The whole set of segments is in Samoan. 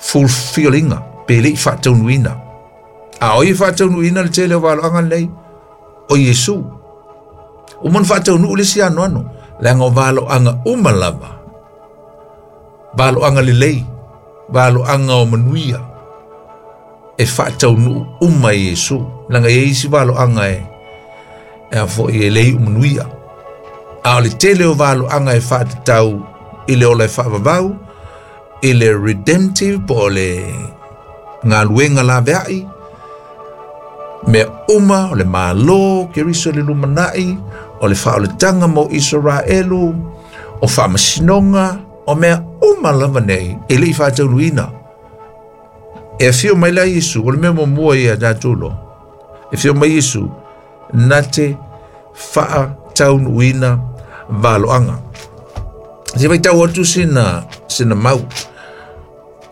Fulfilling pe le i faataunuuina. A o ai e faataunuuina le tele o valoaga lenei? O Iesu. Uma ona faataunuu le isi anoano, leaga o valoaga uma lava, valoaga lelei, valoaga o manuia, e faataunuu uma e Iesu. Leaga e i ai isi valoaga e e a foi e le iu manuia. A o le tele o valoaga e faatatau i le ola e faavavau, i le redemptive po o le galuega laveai, mea uma o le Malo, Keriso le lumanai, o le faaolataga mo Isaraelu, o faamasinoga, o mea uma lava nei e le i faataunuuina. E afio mai la Iesu, o le mea muamua ia tatou loa. E afio mai Iesu, na te faataunuuina valoaga. Se faitau atu sina, sina mau.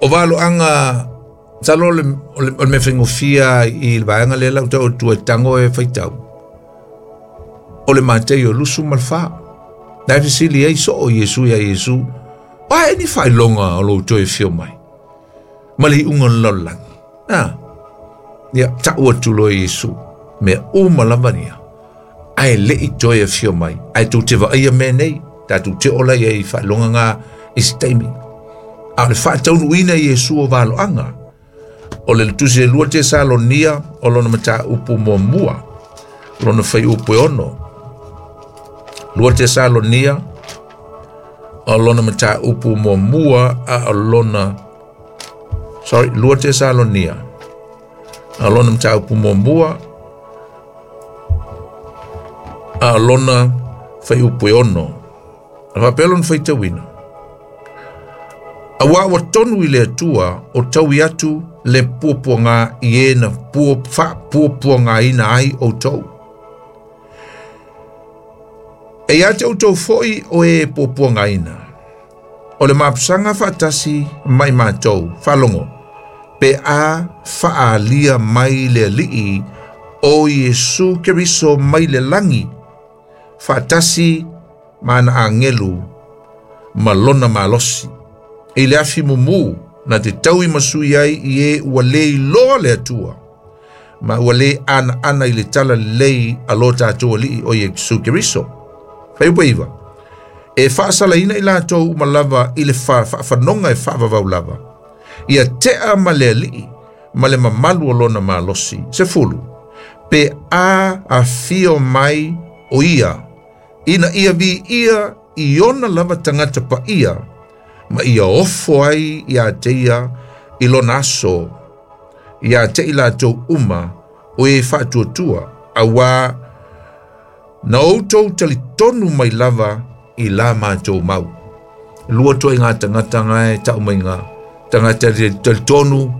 O valoaga, masalo o le, o le, o le mea faigofie i le vaega lea lau tau atu e tago e faitau. O le Mateio 24. Na e fesili ai soo Iesu ia Iesu, o a ni faailoga o lou toe afio mai? Ma le iuga o le lalolagi. Ah, ia, tau atu loa Iesu, mea uma lava ia, ae le i toe afio mai, ae tou te vaaia mea nei, tatou te ola ia i faailoga ngā i se taimi. A o le faataunuuina i Iesu o valoaga, o le tusi e 2 Tesalonia o lona mataupu muamua, lona fuaiupu e 6. 2 Tesalonia o lona mataupu muamua a o lona sorry 2 Tesalonia a lona mataupu muamua a o lona fuaiupu e 6. A faapea lona faitauina. Auā ua tonu i le Atua o taui atu le puapuaga i e na faapuapuagaina ai outou. E ia te outou foi o e puapuagaina, o le mapusaga faatasi ma i matou, faalogo, pe a faaalia mai le Alii o Iesu Keriso mai le lagi, faatasi ma ana agelu ma lona malosi. I le afi mumu na te taui masui ai i e ua le iloa le Atua, ma ua le anaana i le tala lelei a lo tatou Alii o Iesu Keriso. Fuaiupu 9. E faasalaina i latou uma lava i le faafanoga e faavavau lava, ia tea ma le Alii ma le mamalu o lona malosi. 10. Pe a afio mai o ia, ina ia viia i ona lava tagata paia, ma ia ofo ai ia te ia i lona aso, ia te i latou uma o e faatuatua, auā na outou talitonu mai lava i la matou mau. Lua ituaiga tagata nga e tau mai nga tagata e talitonu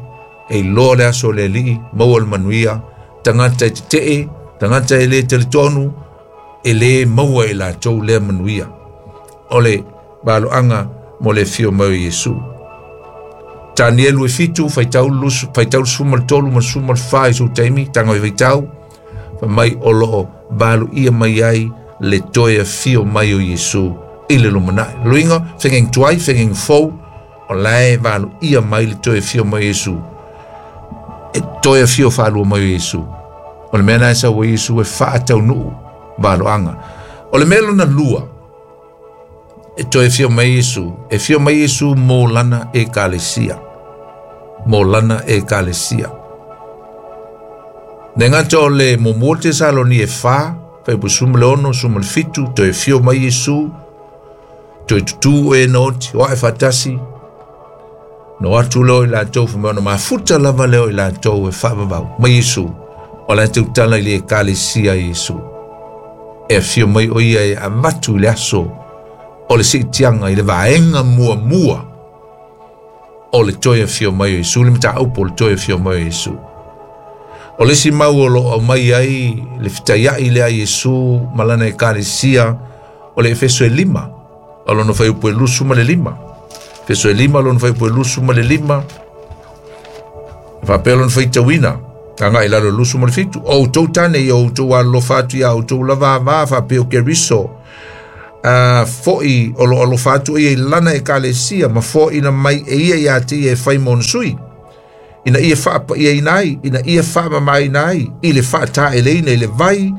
e iloa le aso o le Alii, maua le manuia, tagata e tetee, tagata e le talitonu, e le maua e latou lea manuia. O le valoaga mo le afio mai o Iesu. Tanielu e 7, faitau lusu, faitau 13 ma 14 i sou taimi, tago e faitau, fai mai o loo valuia mai ai le toe afio mai o Iesu i le lumanai. Luiga, fegeng tuai, fegeng fou, o la e valuia mai le toe afio mai o Iesu. E toe afio faalua mai o Iesu. O le mea na e sau ai Iesu e faataunuu valoaga. O le mea lona lua, e toe afio mai Iesu, e afio mai Iesu mo lana ekalesia. Mo lana ekalesia. Ne gata o le muamua Tesaloni e 4, fuaiupu 16, 17, toe afio mai Iesu, toe tutū e na oti, o ae faatasi, no atu leo i latou, fai mai ona mafuta lava leo i latou e faavavau mai Iesu, o la e tautala i le ekalesia Iesu. E afio mai o ia e avatu i le aso o le siitiaga i le vaega muamua o le toe afio mai o Iesu, le mataupu o le toe afio mai o Iesu. O le isi mau o loo aumai ai le fetaiai lea a Iesu ma lana ekalesia o le Efeso e 5, o lona fuaiupu e 25. Efeso e 5, lona fuaiupu e 25, faapea lona faitauina, agai i lalo 27, o outou tane ia outou alolofa atu ia outou lava ava faapea o Keriso, fo'i o lo alofa atu ia i lana ekalesia ma fo'ina mai e ia ia te ia e fai mo ona sui. Ina ia faapa'iaina ai, ina ia faamamāina ai i le fa'ataeleina i le vai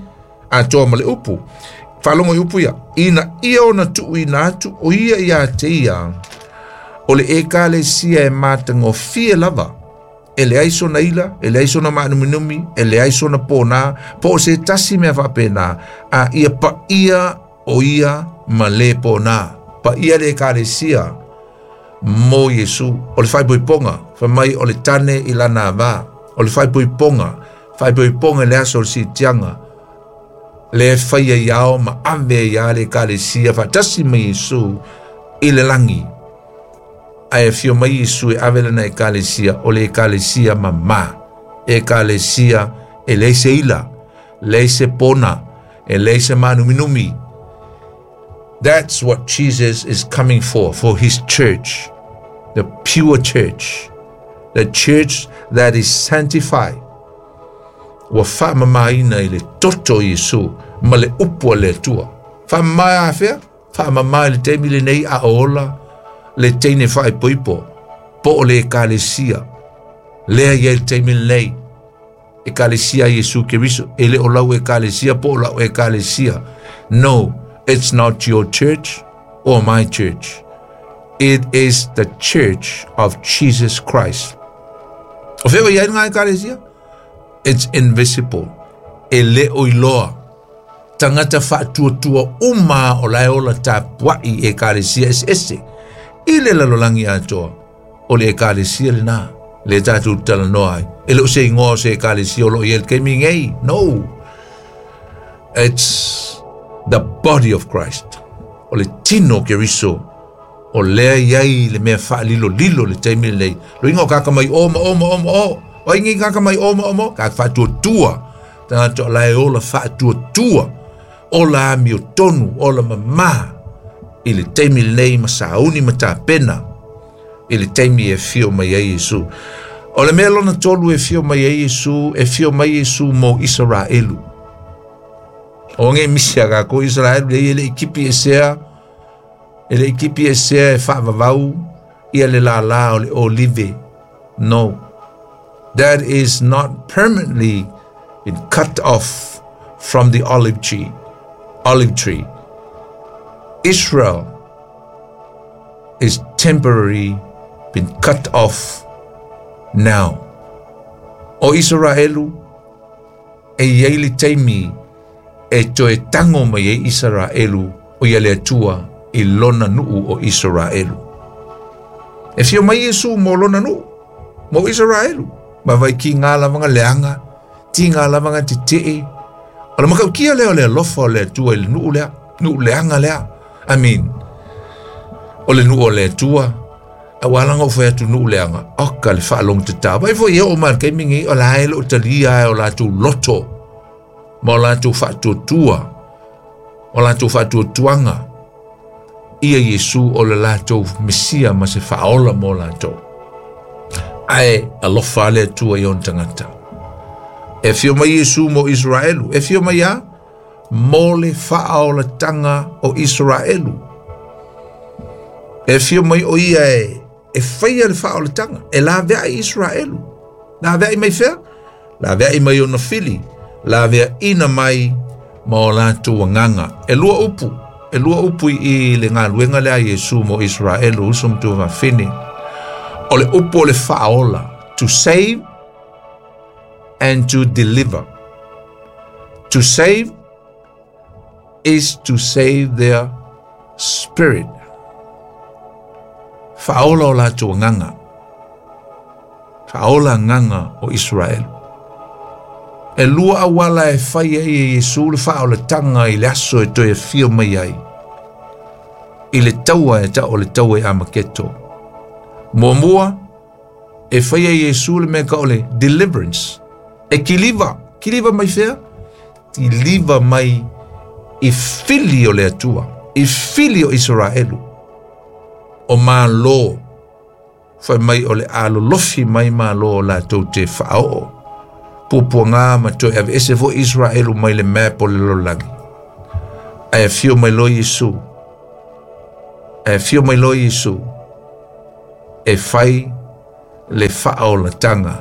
atoa ma le upu. Faalogo i upu ia, ina ia ona tu'uina atu o ia ia te ia o le ekalesia e matagofie lava, e leai sona ila, e leai sona maanuminumi, e leai sona pōnā, po o se tasi mea faapena, a ia paia o ia ma le pōnā. Paia le ekalesia mo Iesu, o le faaipoipoga, fai mai o le tane i lana avā, o le faaipoipoga, faaipoipoga i le aso o le siitiaga, le faia i ao ma ave ia le ekalesia faatasi ma Iesu i le lagi. Ae afio mai Iesu e ave lana ekalesia, o le ekalesia mamā, ekalesia e leai se ila, leai se pona, e leai se maanuminumi. That's what Jesus is coming for his church, the pure church, the church that is sanctified. Ua faamamāina i le toto o Iesu ma le upu a le Atua. Faamamā afea? Faamamā i le taimi lenei a ola le teine faaipoipo po o le ekalesia. Lea ia i le taimi lenei, ekalesia Iesu Keriso, e le o lau ekalesia po o lau ekalesia. No, it's not your church or my church. It is the church of Jesus Christ. O fea o iai ngā ekalesia? It's invisible. E le o iloa. Tagata faatuatua uma o lae ola tapua'i ekalesia eseese. I le lalolagi atoa, o le ekalesia lenā, le tatou talanoa ai. E le o se igoa o se ekalesia o lo o i ai le taimi nei. No. It's the body of Christ. O le tino o Keriso, o lea i ai le mea faalilolilo le taimi lenei. Loiga o kaka mai o ma o ma o ma o. O ai nei kaka mai o ma o ma o. Kaka faatuatua. Tagata o lae ola faatuatua. Ola amio tonu, ola mamā i le taimi lenei ma sauni ma tapena i le taimi e fio mai ai Iesu. O le mea lona tolu e fio mai ai Iesu, e fio mai Iesu mo Isaraelu. O nge misi a kākou Isaraelu le ia le i kipi e sea, e le i kipi e sea e faavavau ia le lālā o le olive. No. That is not permanently been cut off from the olive tree. Olive tree. Israel is temporarily been cut off now. O Israelu e iai le taimi e toe tago mai ai Israelu o ia le Atua i lona nuu o Israelu. E fio mai Iesu mo lona nuu, mo Israelu. Ma vai ki ngā lavanga leanga, ti ngā lavanga te tee. O le makaukia lea o le alofa o le Atua i le nuu lea, nuu leanga lea. I mean, o le nuu o le Atua, a ua alanga o fai atu nuu leanga, oka le faalongo tatao. Vai foi e o ma le taimi nei, o la e lo talia e o latou loto, ma o latou faatuatua, o latou faatuatuaga, ia Iesu o le latou Mesia ma se faaola mo latou. Ae alofa le Atua i ona tagata. E fio mai Iesu mo Israelu, e fio mai a mo le faaolataga o Israelu. E fio mai o ia e faia le faaolataga, e laveai Israelu. Laveai mai fea? Laveai mai ona fili, laveaina mai ma o latou agaga. E lua upu, e lua upu i le galuega lea a Iesu mo Israelu, uso ma tuafafine. O le upu o le faaola, to save and to deliver. To save is to save their spirit. Faaola o latou agaga. Faaola agaga o Israelu. E lua auala e fai ai e Iesu le faaolataga i le aso e toe afio mai ai. I le taua e ta'u o le taua i Amaketo. Muamua, e fai ai Iesu le mea ta'u o le deliverance. E kiliva, kiliva mai fea? Kiliva mai i fili o le Atua, i fili o Israelu. O Malo, fai mai o le alolofi mai Malo o latou te faaoo. Puapuaga ma toe aveese foi Israelu mai le map o le lalolagi. Ae afio mai loa Iesu. Ae afio mai loa Iesu e fai le faaolataga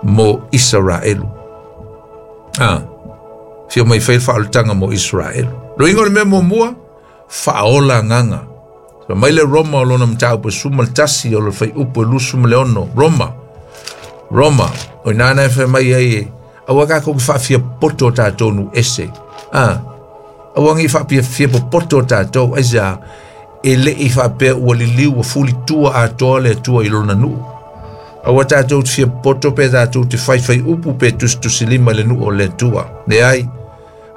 mo Isaraelu. Ah, afio mai fai le faaolataga mo Isaraelu. Loiga o le mea muamua, faaola agaga. Fai mai le Roma o lona mataupu e 11 o le fuaiupu e 26. Roma, Roma, o ina na e fai mai ai e, aua tatou te faafiapoto o tatou nuu ese. Ah, aua nei faafiapopoto o tatou, aisea, e le i faapea ua liliu ua fulitua atoa le Atua i lona nuu. Aua tatou te fiapopoto pe tatou te faifai upu pe tusitusilima i le nuu o le Atua. Leai,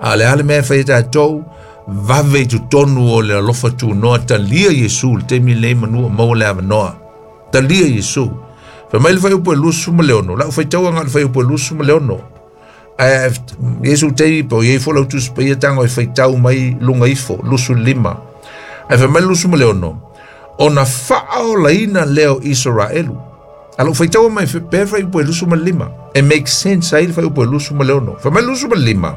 a o le a le mea e fai e tatou, vave i totonu o le alofa tunoa, talia Iesu i le taimi lenei manu o maua le avanoa. Talia Iesu. Fai mai le fuaiupu e 26, lau faitaua na o le fuaiupu e 26. Ae Iesu taimi po iai fo lau Tusi Paia tago e faitau mai luga ifo, 25. Ae fai mai le 26, ona faaolaina lea o Isaraelu. A lou faitaua mai pea fuaiupu e 25, e make sense ai le fuaiupu e 26. Fai mai le 25,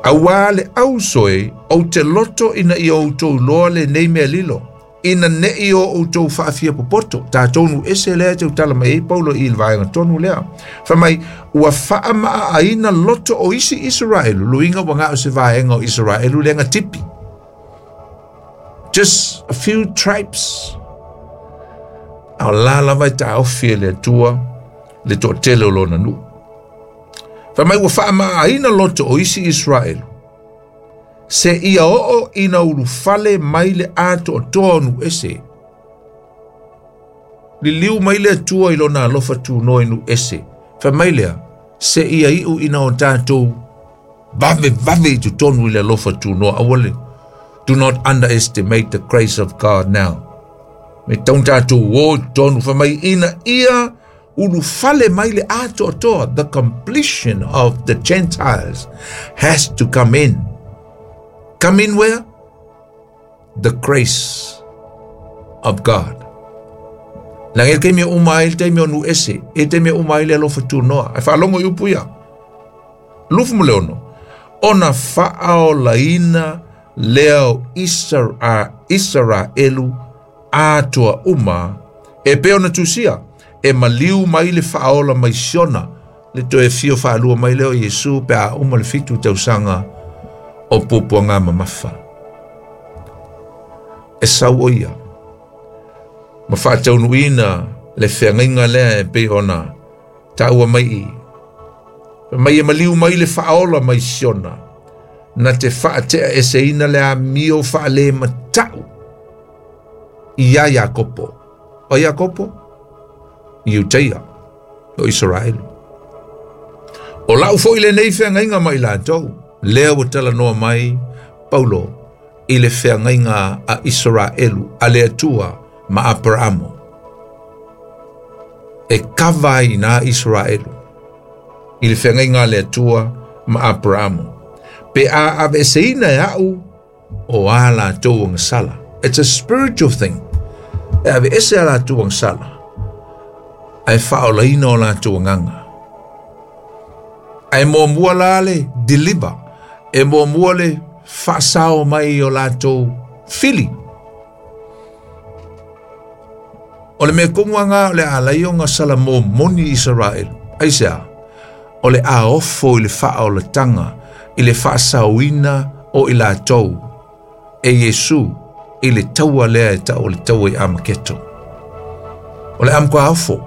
auā le ausoe, ou te loto ina ia outou iloa lenei mea lilo, ina ne'i o outou faafiapopoto. Tatou nuu ese lea e tautala mai ai Paulo i le vaega tonu lea. Fai mai, ua faamaaaina loto o isi Isaraelu, luiga ua gao se vaega o Isaraelu lea na tipi. Just a few tribes. A o la lava e taofi e le Atua le toatele o lona nuu. Fai mai ua faamaaaina loto o isi Isaraelu, seia oo ina ulufale mai le atoatoa o nuu ese. Liliu mai le Atua i lona alofa tunoa i nuu ese. Fai mai lea, seia iu ina o tatou vave vave i totonu i le alofa tunoa. Aua le, do not underestimate the grace of God now. Me tau tatou o i totonu, fai mai ina ia ulufale mai le atoatoa. The completion of the Gentiles has to come in. Come in where? The grace of God. Leaga e le taimi e uma ai le taimi o nuu ese, e le taimi e uma ai le alofa tunoa. Ae faalogo i upu ia. 26, ona faaolaina lea o Isaraelu atoa uma, e pei ona tusia, e maliu mai le faaola mai Siona, le toe fio faalua mai lea o Iesu pe a uma le 7 tausaga o puapuaga mamafa. E sau o ia, ma faataunuuina le feagaiga lea e pei ona taua mai i. Mai e maliu mai le faaola mai Siona, na te faatea eseina le amio faale matau ia Iakopo. O Iakopo, Iuteia, o Israelu. O lau foi lenei feagaiga ma i latou, lea ua talanoa mai Paulo i le feagaiga a Israelu, a le Atua ma Aperamo. E kava ai nā Israelu i le feagaiga a le Atua ma Aperamo. Pe a aveeseina e au o a latou agasala. It's a spiritual thing. E aveese a latou agasala, ae faaolaina o latou agaga. Ae muamua la le deliver, e muamua le faasao mai o latou fili. O le mea tonu lava o le a alai ona salamomoni Israelu. Aisea, o le a ofo i le faaolataga, i le faasaoina o i latou e Iesu i le taua lea e tau o le taua i Amaketo. O le a matua ofo.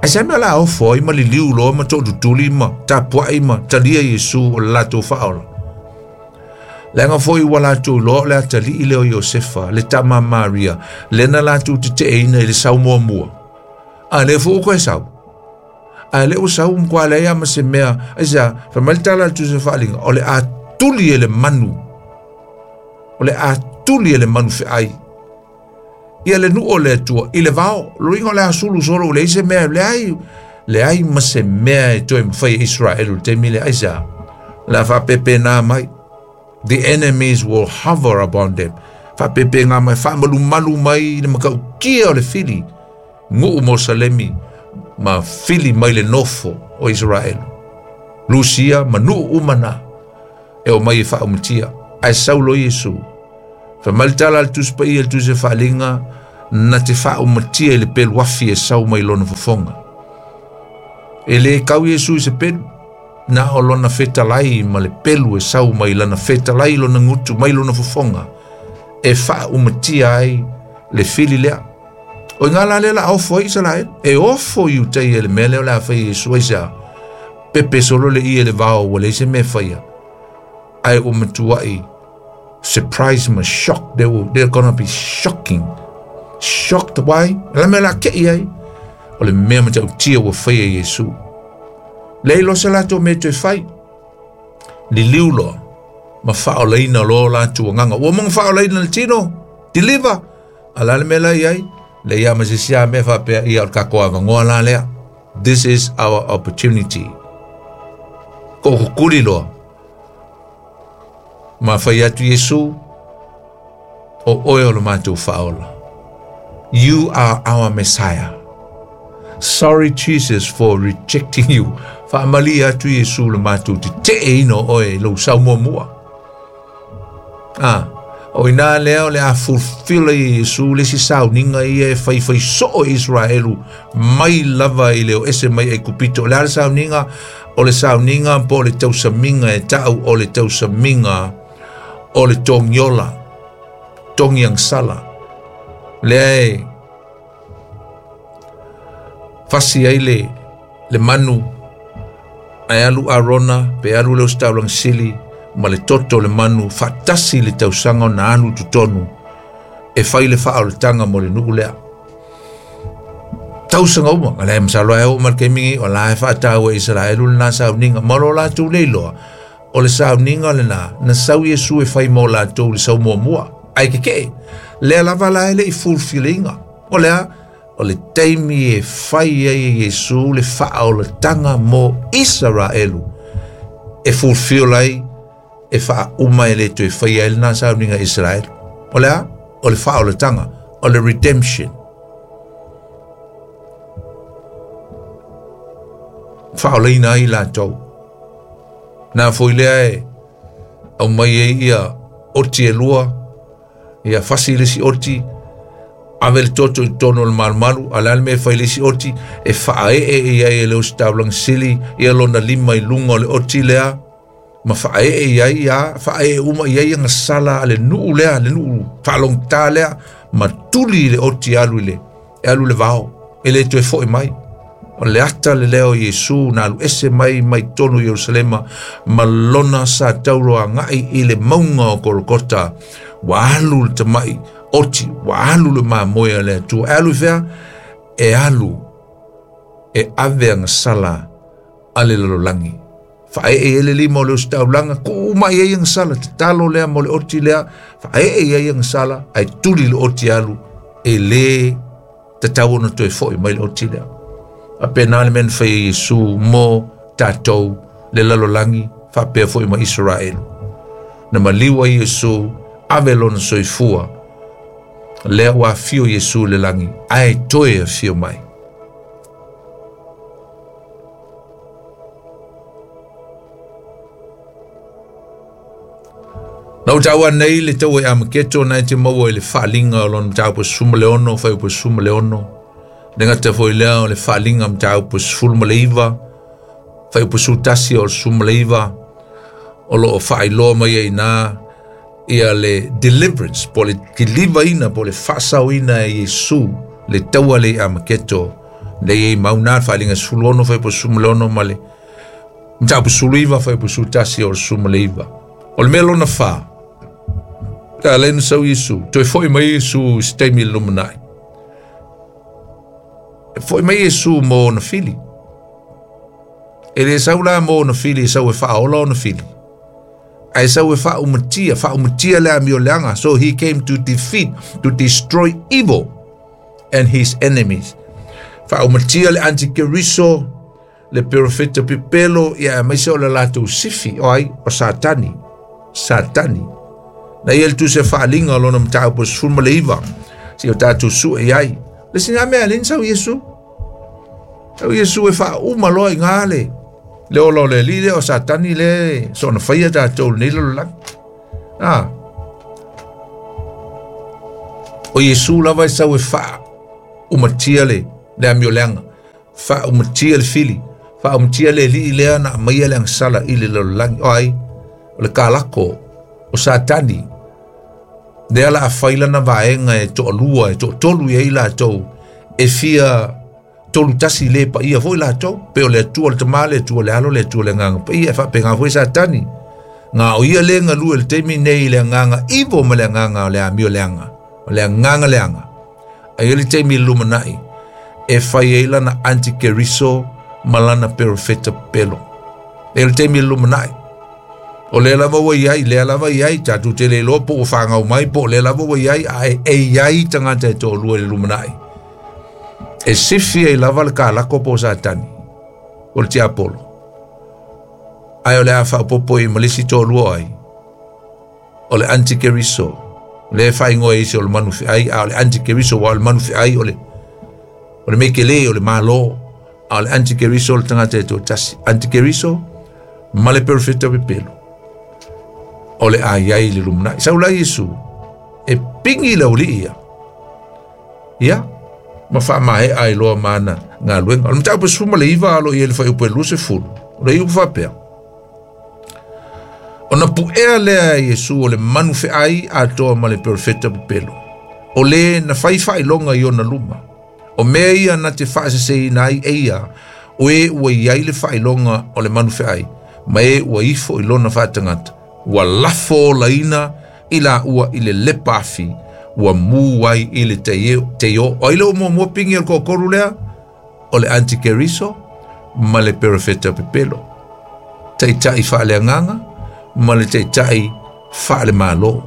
Aisea mea o le a ofo ai ma liliu loa ma tootutuli ma tapuai ma talia Iesu o le latou faaola. Leaga foi ua latou iloa o le atalii lea o Iosefa, le tama a Maria, lena latou teteeina i le sau muamua. A lea foi ua toe sau. A lea ua sau matua leai lava ma se mea. Aisea, fai mai le tala a le Tusi Faaaliga, o le a tuli e le manu. O le a tuli e le manu feai. Ia le nuu o le Atua i le vao. Loiga o le a sulu solo ua leai se mea, leai, leai ma se mea e toe mafai e Israelu i le taimi lea. Aisea, o le a faapepena mai. The enemies will hover upon them. Faapepena mai, faamalumalu mai i le matautia o le fili, nuu mo Salemi, ma fili mai le nofo o Israelu. Lusia ma nuu uma na e o mai e faaumatia. Ae sau loa Iesu, Fai mai le tala a le Tusi Paia i le Tusi o Faaaliga, na te faaumatia i le pelu afi e sau mai lona fofoga. E le kau Iesu i se pelu, na o lona fetalai ma le pelu e sau mai lana fetalai lona gutu mai lona fofoga e faaumatia ai le fili lea. O i ngā la lea la ofo ai Isaraelu, e ofo i utai e le mea lea o le a fai Iesu ai sea. Pepe solo le ie le vao ua leai se mea e faia. Ae ua matuai surprise ma shock. They're gonna be shocking. Shocked why? La mea la ke i ai. O le mea matautia ua faia e Iesu. Leai loa se latou mea toe fai. Liliu loa ma faaolaina loa latou agaga. Ua uma ona faaolaina le tino, deliver. A la le mea la i ai? Leai lava ma se isi lava mea faapea, ia o le tatou avanoa la lea. This is our opportunity. Tookutuli loa. Ma fai atu Iesu, o oe o le matou faaola. You are our Messiah. Sorry Jesus for rejecting you. Faamalie atu Iesu le matou teteeina o oe i lou sau muamua. Ah, o ina lea o le a fulfill ai e Iesu le isi sauniga ia e faifai soo e Israelu mai lava i le o ese mai Aikupito. O le a le sauniga? O le sauniga po o le tausamiga e ta'u o le tausamiga o le togiola, togiagasala. Lea e fasi ai le, le manu ae alu Arona pe alu le ositaulaga sili ma le toto o le manu faatasi i le tausaga ona alu i totonu e fai le faaolataga mo le nuu lea. Tausaga uma, a le masalo e oo mai le taimi nei, o la e faataua e Isaraelu lena sauniga, ma lo latou le iloa, o le sauniga lena, na sau Iesu e fai mo latou i le sau muamua, ae tetee. Lea lava la e le i fulfilina. O le a? O le taimi e fai ai e Iesu le faaolataga mo Isaraelu, e fulfill ai, e faauma e le toe faia ai lena sauniga i Isaraelu. O le a? O le faaolataga, o le redemption. Faaolaina ai latou. Na foi lea e aumai ai ia oti e lua, ia fasi le isi oti, ave le toto i totonu o le malumalu, a le a le mea e fai le isi oti, e faaee i ai e le ositaulaga sili ia lona lima i luga o le oti lea, ma faaee i ai ia, faaee uma i ai agasala a le nuu lea, le nuu faalogotā lea, ma tuli i le oti e alu i le, e alu i le vao, e le toe foi mai. O le ata le lea o Iesu na alu ese mai mai totonu o Ierusalema ma lona sa tauro agai i le mauga o Kolokota. Ua alu le tamai oti, ua alu le mamoe a le Atua. E alu i fea? E alu e ave agasala a le lalolagi. Faaee ai le lima o le ositaulaga, tuu uma i ai agasala, tatalo lea mo le oti lea, faaee i ai agasala, ae tuli le oti alu, e le tatau ona toe foi mai le oti lea. Faapena le mea na fai e Iesu mo tatou le lalolagi, faapea foi ma Isaraelu. Na maliu ai Iesu, ave lona soifua, lea ua afio Iesu i le lagi, ae toe afio mai. Na ou taua nei le taua i Amaketo na e te maua i le faaaliga o lona mataupu 16, fuaiupu 16. Le gata foi lea o le faaaliga mataupu 19, fuaiupu 11 o le 19, o lo o faailoa mai ai i ina ia le deliverance, po o le kilivaina, po o le faasaoina e Iesu le taua lea i Amaketo. Lea e i ai mau na le faaaliga 16, fuaiupu 16 ma le mataupu 19, fuaiupu 11 o le 19. O le mea lona fa, a lea na sau Iesu, toe foi mai Iesu i se taimi i le lumanai. E foi mai Iesu mo ona fili. E le sau la mo ona fili, e sau e faaola ona fili. Ae sau e faaumatia, faaumatia le amioleaga. So he came to defeat, to destroy evil and his enemies. Faaumatia le antikeriso, le perofeta pepelo, ia aemaise o le latou sifi, o ai, o Satani. Satani. Na ia le tusi faaaliga o lona mataupu 19, si o tatou sue i ai. Le sina mea le sau Iesu. Sau Iesu e faauma loa i ngā le le ola o le alii lea o Satani le soona faia tatou lenei lalolagi. Ah. O Iesu lava e sau e faaumatia le amioleaga, faaumatia le fili, faaumatia le alii lea na aumaia le agasala i le lalolagi. O ai? O le kalako o Satani. Lea la a fai lana vaega e toalua e toatolu i ai latou e fia tolu tasi le paia foi latou, pe o le Atua le Tama, le Atua le Alo, le Atua le Agaga Paia, e faapena foi Satani. Nga o ia le galue i le taimi nei i le agaga ivo ma le agaga o le amioleaga, o le agaga leaga. Ae i ai le taimi i le lumanai e fai ai lana antikeriso ma lana perofeta pepelo. E i ai le taimi i le lumanai. O lea lava ua i ai, lea lava i ai, tatou te le iloa po ua fagau mai, po o lea lava ua i ai, a e i ai tagata e toalua i le lumanai. E sifi ai lava le kalako po o Satani, o le tiapolo. Ae o le a faaopoopo i ma le isi toalua ai, o le antikeriso, lea e faaigoa e isi o le manu feai, a o le antikeriso, ua o le manu feai o le o le mekele o le malo, a o le antikeriso o le tagata e toatasi. Antikeriso ma le perofeta pepelo o le a i ai i le lumanai. Sau la Iesu e pingi le aualii ia, ia ma faamaea ai loa ma ana galuega. O le mataupu e 19 alo i ai le fuaiupu e 20, o le iupu faapea, Ona puea lea e Iesu o le manu feai atoa ma le perofeta pepelo, o le na fai faailoga i ona luma. O mea ia na te faaseseina ai e ia, o e ua i ai le faailoga o le manu feai, ma e ua ifo i lona faatagata, ua lafo olaina i laua i le lepa afi, ua mu ai i le teio. O ai le ua muamua pingi o le toatolu lea? O le antikeriso ma le perofeta pepelo. Taitai faaleagaga ma le taitai faalemalo.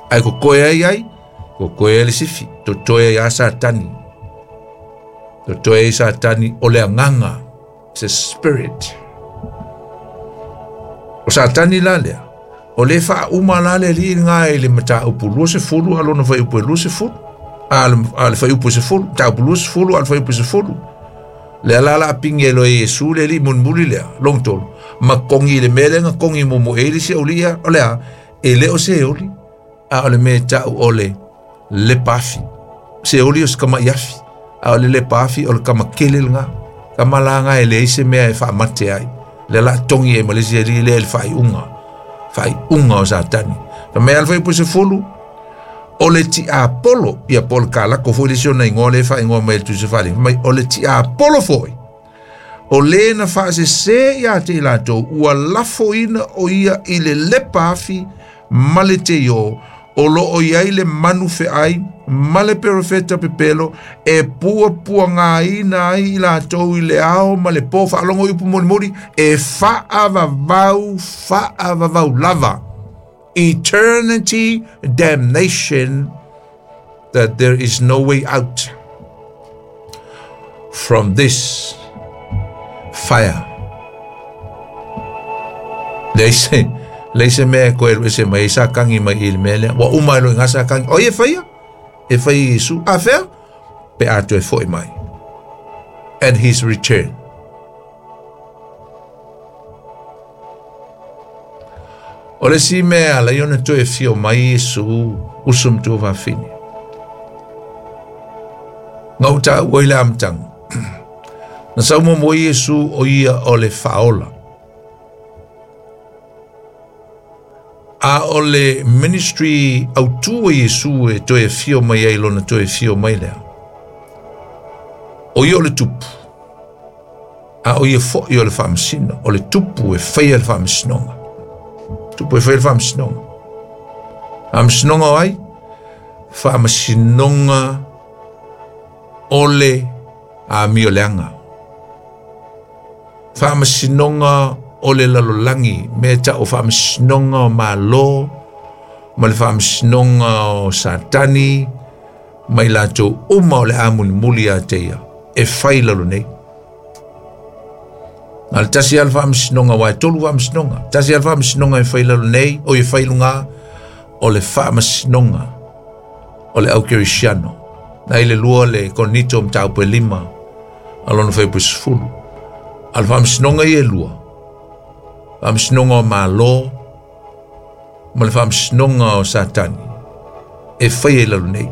Ae kokoe ai ai, kokoe ai le sifi, totoe ai a Satani. Totoe ai Satani o le agaga, it's a spirit. O Satani la lea, o le faauma la le alii lena i le mataupu 20 a lona fuaiupu e 20, a le fuaiupu e 10, mataupu 20 a le fuaiupu e 10. Lea la la pingi e loe Iesu le alii mulimuli lea, long tolu, ma kongi i le mea lea na kongi muamua i ai le isi aualii ia, o le a, e le o se oli, a o le mea e tau o le lepa afi. Se oli o se tama'i afi, a o le lepa afi o le tama kele lena. Tama la lena e leai se mea e faamate ai. Lea la togi ai ma le isi alii lea i le faaiuga, faaiuga o Satani. Fai mai a le fuaiupu 10, o le tiapolo, ia po o le kalako foi le isi ona igoa lea e faaigoa mai e le Tusi Faaleaga. Fai mai, o le tiapolo foi, o le na faasese ia te i latou, ua lafoina o ia i le lepa afi ma le teio, o lo o i ai le manu feai ma le perofeta pepelo e puapuagaina ai i latou i le ao ma le po. Faalogo i upu mulimuli, e faavavau, faavavau lava. Eternity damnation, that there is no way out from this fire. Leai se, leai se mea e koe alu ese mai ai sa kangi mai i le mea lea. Ua uma e loe ngā sa kangi. O ia e whaia? E whai i Iesu. A whea? Pe a toe foi mai. At his return. O le isi mea e ala ai ona toe afio mai Iesu, uso ma tuafafine. Na ou taua i le amataga, na sau muamua Iesu o ia o le faaola. A o le ministry autū a Iesu e toe afio mai ai lona toe afio mai lea, o ia o le tupu, a o ia foi o le faamasino, o le tupu e faia le faamasinoga. Tupu e faia le faamasinoga. Faamasinoga o ai? Faamasinoga o le amioleaga. Faamasinoga o le lalolagi, mea e tau o faamasinoga o Malo, ma le faamasinoga o Satani, ma i latou uma o le a mulimuli ia te ia, e fai i lalo nei. Na le tasi lava le faamasinoga, aua e tolu faamasinoga. Tasi lava le faamasinoga e fai i lalo nei, o e fai i luga, o le faamasinoga o le aukerisiano. Na i le lua le Korinito mataupu e 5, a lona fuaiupu e 10. A o le faamasinoga ia e lua, faamasinoga o Malo ma le faamasinoga o Satani, E faia i lalo nei.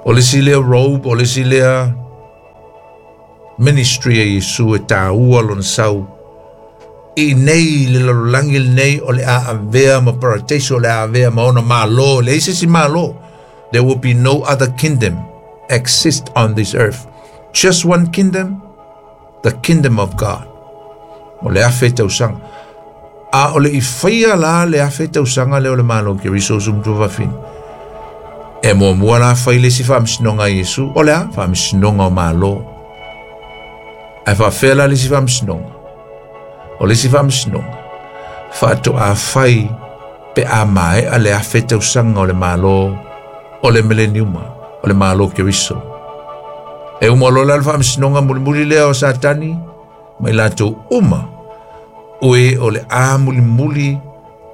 O le isi lea robe, o le isi lea ministry a Iesu e tāua lona sau. I nei le lalolagi lenei o le a avea ma paradise, o le a avea ma ona malo, le isi si malo. There will be no other kingdom exist on this earth. Just one kingdom, the kingdom of God. O le afe tausaga. A o le i faia la le afe tausaga lea o le malo Keriso uso ma tuafafine. E muamua la fai le isi faamasinoga a Iesu, o le a? Faamasinoga o malo. Ae faafefea la le isi faamasinoga? O le isi faamasinoga, faatoa fai pe a maea le afe tausaga o le malo o le mileniuma, o le malo Keriso. E uma loa la le faamasinoga mulimuli lea o Satani, ma i latou uma, o e o le a mulimuli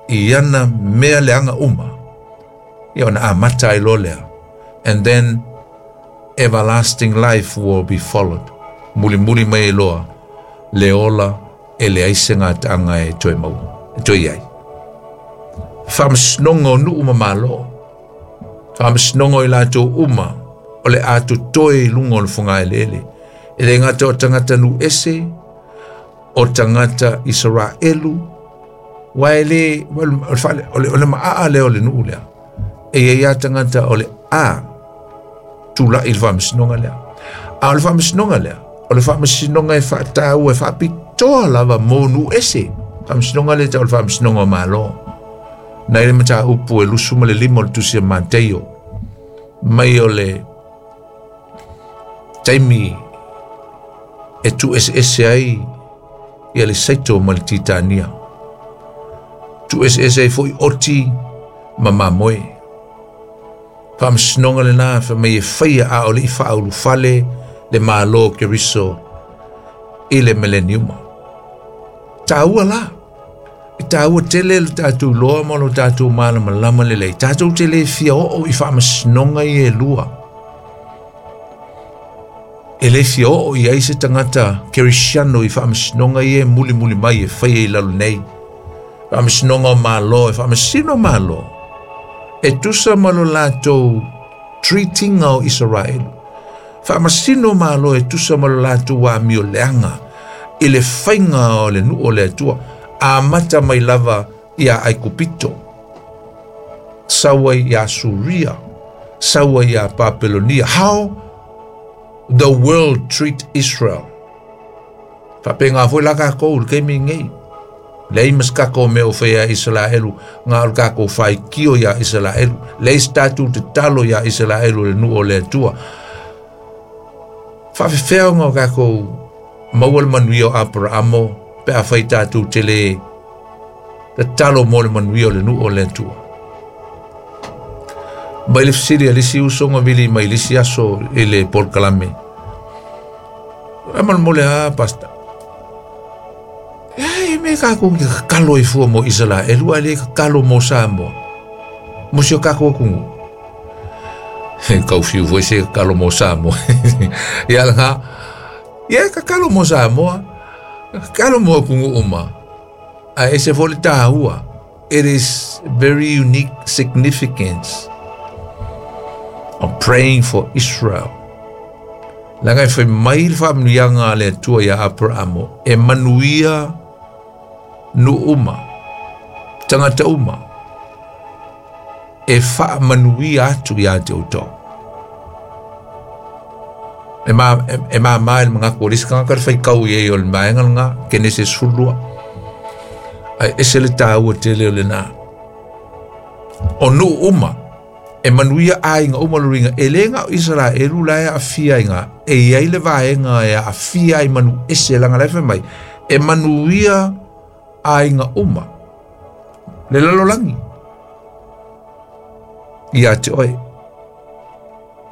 i ana mea leaga uma, ia ona amata ai loa lea. And then everlasting life will be followed. Mulimuli mai ai loa le ola e leai se gataaga e toe maua, e toe i ai. Faamasinoga o nuu ma malo, faamasinoga o i latou uma o le a totoe i luga o le fogaeleele. E le gata o tagata nuu ese, o tagata Isaraelu, aua e le, o le maaa lea o le nuu lea. E i ai lava tagata o le a tulai i le faamasinoga lea. A o le faamasinoga lea, o le faamasinoga e faataua, e faapitoa lava mo nuu ese. Faamasinoga lea e tau o le faamasinoga o Malo. Na i le mataupu e 25 o le tusi a Mateio, mai o le taimi e tuueseese ai ia le Saito ma le Titania. Tuueseese ai foi oti ma mamoe. Faamasinoga lena fai mai e faia a o le i faaulufale le Malo Keriso i le mileniuma. Taua la. E taua tele lo tatou iloa ma lo tatou malamalama lelei. Tatou te le fia oo i faamasinoga ia e lua. E le fia oo i ai se tagata Kerisiano i faamasinoga ia e mulimuli mai e faia i lalo nei. Faamasinoga o Malo, e faamasino Malo. E tusa ma lo latou treatinga o Isaraelu. Faamasino Malo e tusa ma lo latou amio leaga i le faiga o le nuu o le Atua, amata mai lava ia Aikupito, sau ai ia Suria, sau ai ia Papelonia. How the world treat Israel. Faapena foi la kākou i le taimi lenei. Leai ma se tatou mea o faia ia Isaraelu, na o le tatou faitio ia Isaraelu. Leai se tatou tatalo ia Isaraelu le nuu o le Atua. Faafefea ona o tatou maua le manuia o Aparaamo pe a fai tatou te le tatalo mo le manuia o le nuu o le Atua. Mai le fesili a le isi uso na vili mai le isi aso i le polokalame. E molemole a, Pastor. E me kākou ke kakalo i fua mo Isaraelu, a le kakalo mo Samoa. Mo si o kākou atunuu. He kau fiu foi se kakalo mo Samoa. Ia nga, ia kakalo mo Samoa, kakalo mo atunuu uma. A e se foi le tāua. It is very unique significance of praying for Israel. Leaga e fai mai le faamanuiaga a le Atua ia Aperamo, e manuia nuu uma, tagata uma, e faamanuia atu ia te outou. E ma, e, e māmā i le manatu o le isi tagata le faitau i ai o le vaega lena, Kenese 12. Ae ese le tāua tele o lena. O nuu uma, e manuia aiga uma lo luiga, e le na o Isaraelu la e aafia ai ga, e i ai le vaega e aafia ai manu ese leaga la e fai mai, e manuia aiga uma, le lalolagi ia te oe.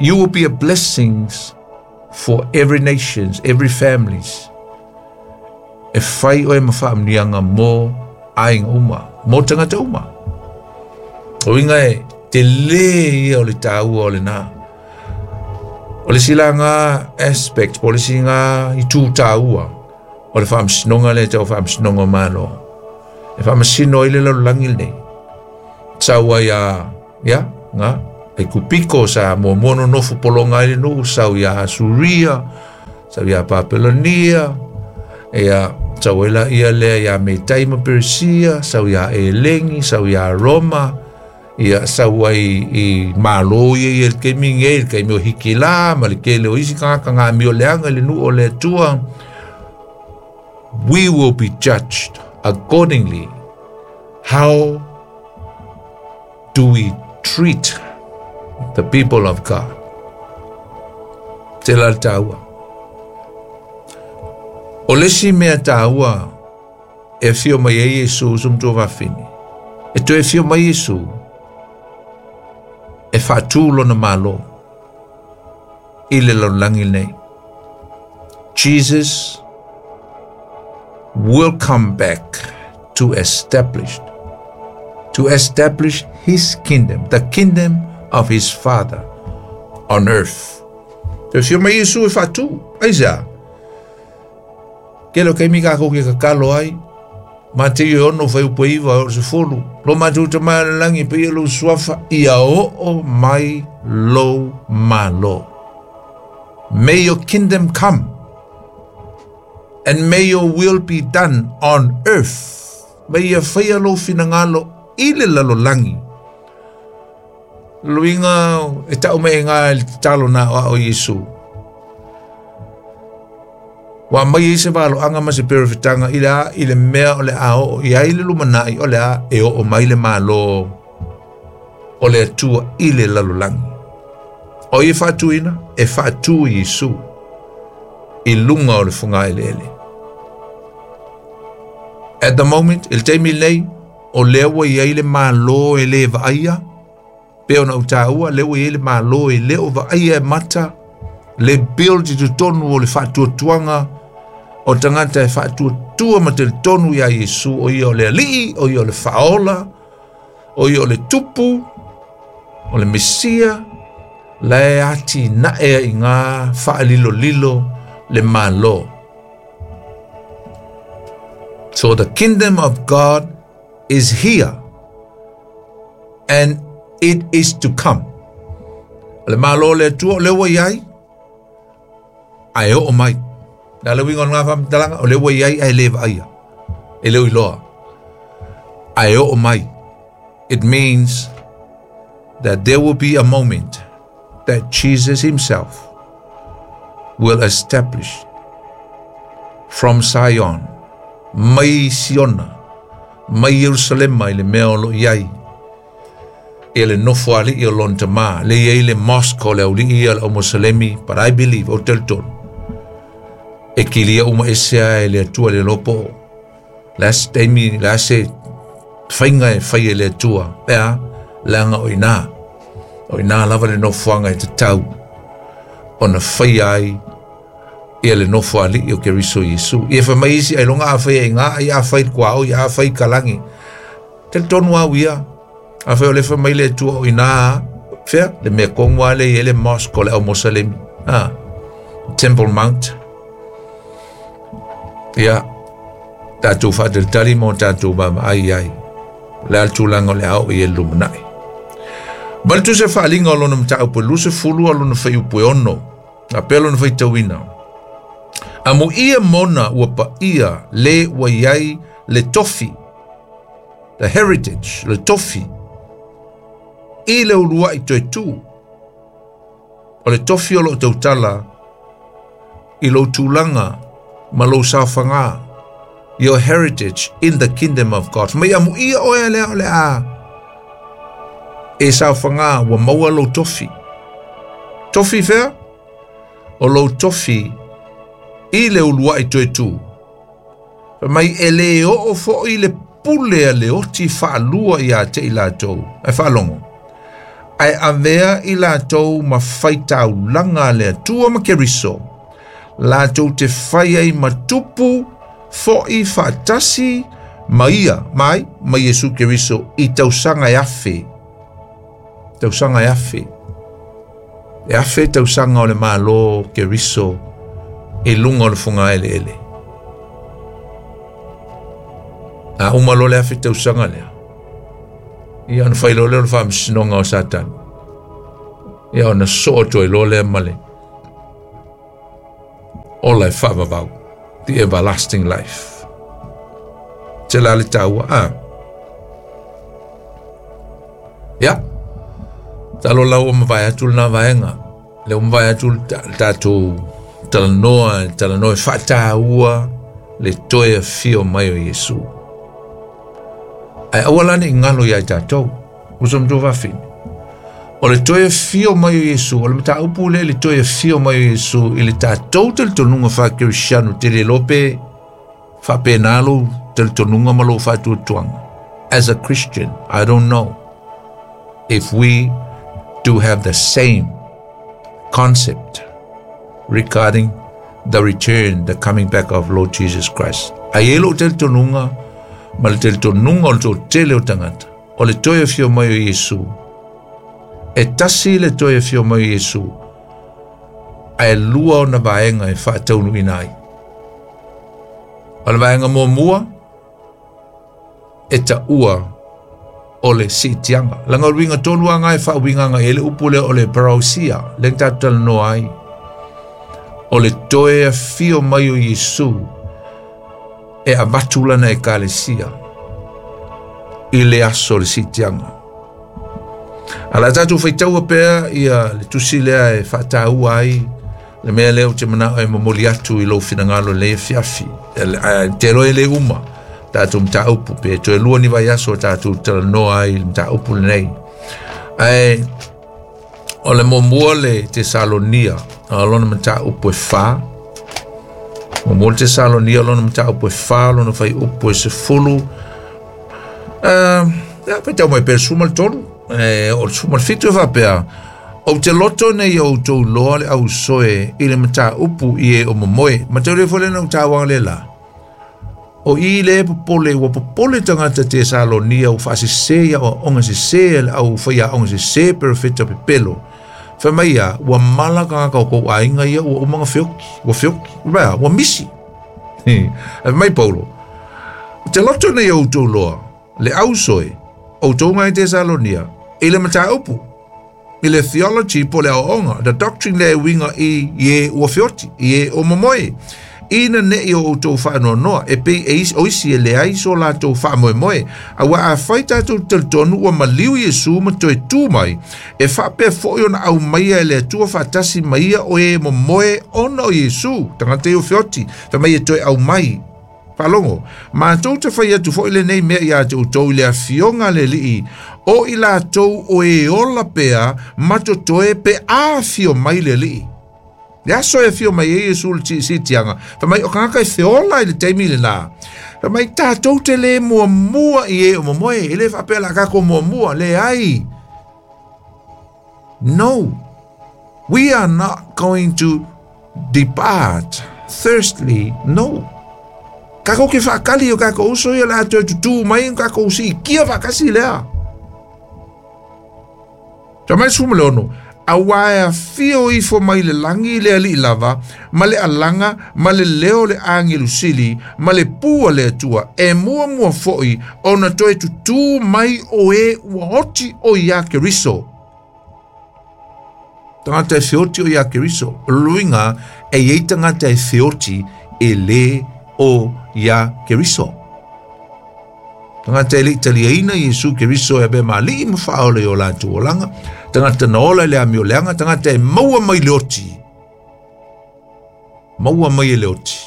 You will be a blessings for every nations, every families. E fai oe ma faamanuiaga mo aiga uma, mo tagata uma. O uiga e tele ia o le tāua o lena. O le isi la nga aspect, po o le isi nga itu tāua o le faamasinoga lea e tau faamasinoga o Malo. E faamasino ai le lalolagi lenei. Sau ai a, ia, Ga Aikupiko sa muamua nonofo pologa ai le nuu, sau iā Asuria, sau iā Papelonia, ia sau ai laia lea iā Metai ma Peresia, sau iā Elegi, sau iā Roma, ia sau ai i Malo ia ia i le taimi lenei, le taimi o Hikilā ma le tele o isi tagata na amioleaga i le nuu o le Atua. We will be judged accordingly how do we treat the people of God. Te la le tāua. O le isi mea tāua e afio mai ai Iesu uso ma tuafafine. E toe afio mai Iesu e faatū lona Malo i le lalolagi lenei. Jesus will come back to establish to establish his kingdom, the kingdom of his father on earth. Toe afio mai Iesu e faatū. Aisea? Kele o taimi kākou ke tatalo ai, Mateo e 6 fuaiupu e 9 e oo i le 10, Lo matou Tama i le lagi, paia lou suafa, ia oo mai lou Malo. May your kingdom come and may your will be done on earth. Ma ia faia lou finagalo i le lalolagi. Luiga e tau mai e ngā le tatalo na o ao Iesu. Ua aumai ai se valoaga ma se perofetaga i le a i le mea o le a oo i ai le lumanai o le a e oo mai le Malo o le Atua i le lalolagi. O ai e faatuina? E faatu e Iesu i luga o le fogaeleele. At the moment, i le taimi lenei, o lea ua i ai le Malo e le vaaia, pei ona ou taua, lea ua i ai le Malo e le o vaaia e mata, le build i totonu o le faatuatuaga o tagata e faatuatua ma talitonu iā Iesu, o ia o le Alii, o ia o le Faaola, o ia o le Tupu, o le Mesia, la e atinae ai i ngā faalilolilo le Malo. So the kingdom of God is here and it is to come. O le Malo o le Atua o lea ua i ai, ae oo mai. O le a le uiga o lena faamatalaga? O lea ua i ai ae le vaaia, e le o iloa, ae oo mai. It means that there will be a moment that Jesus himself will establish from Zion, mai Siona, mai Ierusalema i le mea o lo o i ai, ia le nofo alii o lona Tama, le i ai le mosque o le aualii ia o le aumoselemi, but I believe, ou te talitonu, e kilia uma ese lava e le Atua le iloa po o le a se taimi, le a se faiga e fai e le Atua, e a, leaga o i ina, o i ina lava le nofoaga e tatau ona faia ai ia le nofo alii o Keriso Iesu. Ia fai mai isi, ailoga a fai e ngā, ai a fai kuaoi, a fai kalangi. Talitonu au ia, a fai o le fai mai le Atua o i ina, fea, le mea tonu lava lea e i ai le mosque o le aumoselemi, a, Temple Mount. Ia, tatou faatalitali ma o tatou vaavaai i ai. O le a le tulaga o le a oo i ai le lumanai. Ma le tusa faaaliga o lona mataupu e 20 a lona fuaiupu e 6, a pea lona faitauina. Amuia mona ua paia le ua i ai le tofi, the heritage, le tofi, i le uluai toe tu. O le tofi o loo tautala i lou tulaga ma lou saofaga, your heritage in the kingdom of God. Mai amuia oe lea o le a e saofaga ua maua lou tofi. Tofi fea? O lou tofi i le uluai toe tu. Fai mai e le oo foi le pule a le oti faalua ia te i latou. Ae faalogo. Ae avea i latou ma faitaulaga a le Atua ma Keriso, latou te fai ai ma tupu foi faatasi ma ia, mai, ma Iesu Keriso i tausaga e afe. Tausaga e afe. E afe tausaga o le Malo Keriso i luga o le fogaeleele. A uma loa le afe tausaga lea, ia ona fai loa lea o le faamasinoga o Satani. Ia ona soo toe loa lea ma le ola e faavavau, the everlasting life. Te la le taua a. Ia, talo lau o mawai atu lana vaenga. Le o mawai atu le tātou talanoa, talanoa e whaataua le toe afio mai o Iesu. Ai aua lani ngalo ia i tātou, uso mtou wawhini. O le toe afio mai o Iesu, o le mataupu le le toe afio mai o Iesu, i le tātou talitonunga wha-Kristiano, te le lope whapenalo talitonunga ma lo whatuatuanga. As a Christian, I don't know if we do have the same concept regarding the return, the coming back of Lord Jesus Christ. Ai e lo talitonunga, ma le talitonunga o le tō tele o tangata, o le toe afio mai o Iesu, e tasi le toe afio mai o Iesu, ae lua ona vaega e faataunuuina ai. O le vaega muamua, e taua o le siitiaga. Laga o le uiga tonu aga e faauigaga i ai le upu lea o le parousia, lea na tatou talanoa ai. O le toe afio mai o Iesu e avatu lana ekalesia i le aso o le siitiaga. A la tatou faitaua pea ia le tusi lea e faataua ai le mea lea ou te manao e momoli atu i lou finagalo i lenei afiafi. Te iloa e le uma tatou mataupu pe toe lua ni vaiaso o tatou talanoa ai i le mataupu lenei. Ae o le muamua le Tesalonia, o lona mataupu e 4. Muamua le Tesalonia, lona mataupu e 4, lona faiupu e 10. Ia, faitau mai pea le 13, o le 17 e faapea, ou te loto nei o outou loa le ausoe i le mataupu i e o momoe. Ma te ule fo le na utauanga le la. O i le popole, ua popole tagata Tesalonia, ua faasese ia o onga sese, le au whaia onga sese, perofeta pepelo. Whai mai ia, ua mala kangaka o kou aiga ia, ua umanga feoki, ua feoki, ua, ua misi. Ai mai Paulo, te loto nei o outou loa, le ausoe, outou ngai Tesalonia, i le mataupu, i le theology po le aoaoga, the doctrine le uiga i e ua feoti, i e o momoe. Ina nei o outou faanoanoa, e pei e o isi e leai so latou faamoemoe. Auā afai tatou talitonu ua maliu Iesu ma toe tū mai, e faapea foi ona aumaia e le Atua faatasi ma ia o e momoe ona o Iesu, tagata ia o feoti, fai mai e toe aumai. Faalogo, matou te fai atu foi lenei mea iā te outou i le afioga a le Alii, o i latou o e ola pea ma totoe pe a afio mai le Alii. Le aso e afio mai ai Iesu i le siitiaga, fai mai o tagata e feola i le taimi lenā. Fai mai tatou te le muamua i e o momoe, e le faapea o le a tatou muamua, leai. No, we are not going to depart thirstly, no. Kākou ke whaakali o kākou uso ia la toe tutū mai o kākou siitia faatasi lea. Fai mai 16, auā e afio ifo mai le lagi le Alii lava, ma le alaga, ma le leo o le agelu sili, ma le pū a le Atua, e muamua foi ona toe tutū mai o e ua oti o iā Keriso. Tagata e feoti o iā Keriso. O le luiga, e i ai tagata e feoti e lē o iā Keriso. Tagata e le i taliaina Iesu Keriso e avea ma Alii ma Faaola i o latou olaga, tagata na ola i le amioleaga, tagata e maua mai le oti. Maua mai e le oti,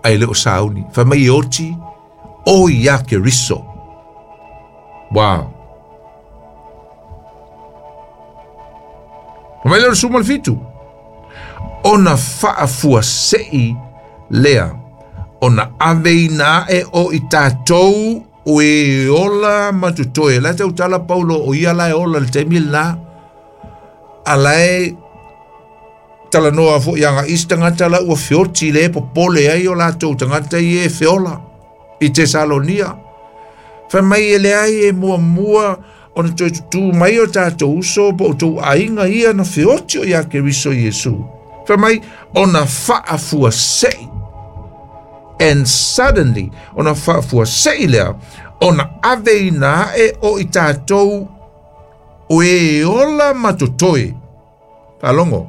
ae le o sauni. Fai mai e oti o iā Keriso. Wow. Fai mai lea o le 17, ona faafuasei lea, ona aveina ae o i tatou o e ola ma totoe. La e tautala Paulo o ia la e ola i le taimi lenā. A la e talanoa foi ia isi tagata la ua feoti le popole ai o latou tagata ia e feola i Tesalonia. Fai mai e leai e muamua ona toe tutū mai o tatou uso po o outou aiga ia na feoti o iā Keriso Iesu. Fai mai ona faafuasei. And suddenly, ona faafuasei lea, ona aveina ae o i tatou o e ola ma totoe. Faalogo,